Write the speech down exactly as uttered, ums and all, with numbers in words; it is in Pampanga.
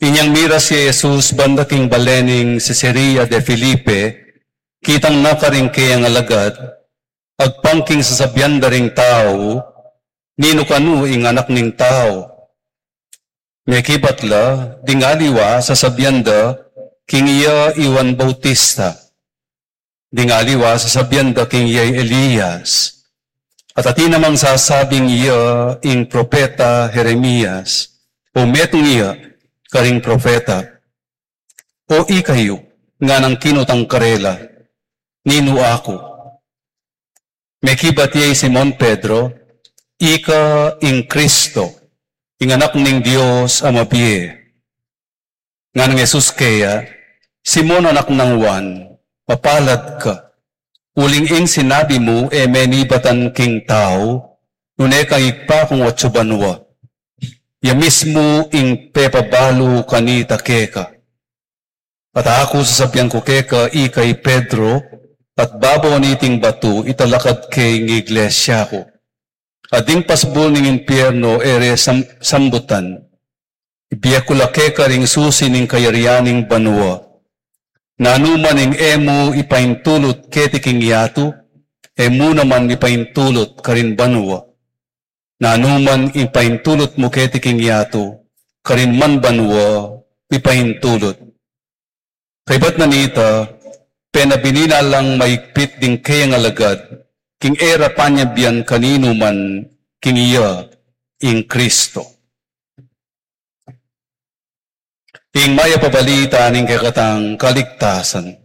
Inyang miras ya i Jesus banda king bale ning Cesarea de Felipe, kitang na karing kayang alagad, agpang king sasabian da ring tau, "Ninu kanu ing Anak ning Tau?" Mekibat la, ding aliwa sasabian da king iya i Juan Bautista. Ding aliwa sasabian da king iya i Elias. At atin namang sasabing iya ing propeta Jeremias, o metung iya karing propeta. "O ikayu," nganang kinutang karela, "ninu aku?" Mekibat ya i Simon Pedro, "Ika ing Kristo, ing Anak ning Dios a mabie." Nganang Jesus keya, "Simon, anak nang Juan, mapalad ka. Uling ing sinabi mu e menibatan king tau, nune kang Ibpa kung atsu banua. Ya mismu ing pepabalu kanita keka. At aku sasabian ku keka, ika i Pedro, at babo niting batu italakad ke ing iglesia ku. At ding pasbul ning impierno e re sam-, sambutan. Ibie ku la keka ring susi ning kayarian ning banua. Nanu man ing e mu ipaintulut keti king yatu, e mu naman ipaintulut karin banua. Nanu man ing ipaintulut mu keti king yatu, karin man banua ipaintulut." Kaybat na nita, penabini na lang maigpit ding kayang alagad, king e ra panyabian kaninu man king iya ing Kristo. Ing mayap a balita ning kekatang kaligtasan.